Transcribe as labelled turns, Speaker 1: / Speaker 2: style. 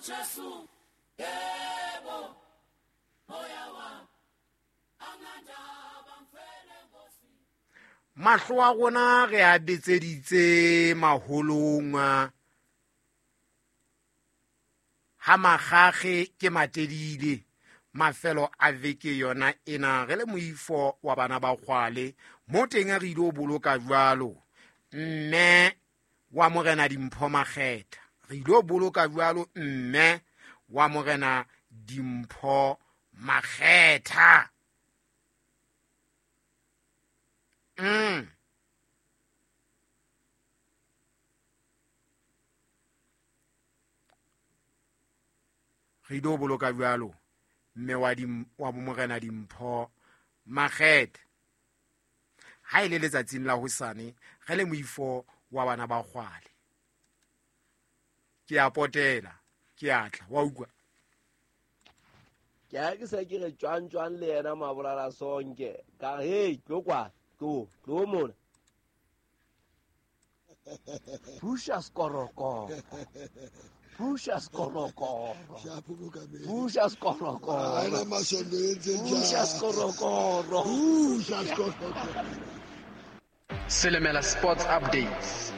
Speaker 1: uJesu yebo moya wami anandaba mfele nkosi. Mahlo a rona re a betseditse maholong ha magage ke matedile mafelo a veke yona ena re le moifo wa bana ba kgwale mo teng re ile o boloka jwalo mme wa morena Dimpho Makgetha re ile o boloka jwalo mme wa morena Dimpho Makgetha. Re ile o boloka jwalo mme wa morena Dimpho Makgetha ha ile letsatsing la hosane re le moifo wa bana ba kgwale. Ke a potela ke a tla wa utlwa
Speaker 2: ke a ke se ke re tjwang tjwang le yena Mabolala Sonke ka hey tlo kwa tlo tlo mona Pusha skorokoro Pusha skorokoro Pusha skorokoro Pusha skorokoro Pusha skorokoro.
Speaker 3: Selemela Sports Updates.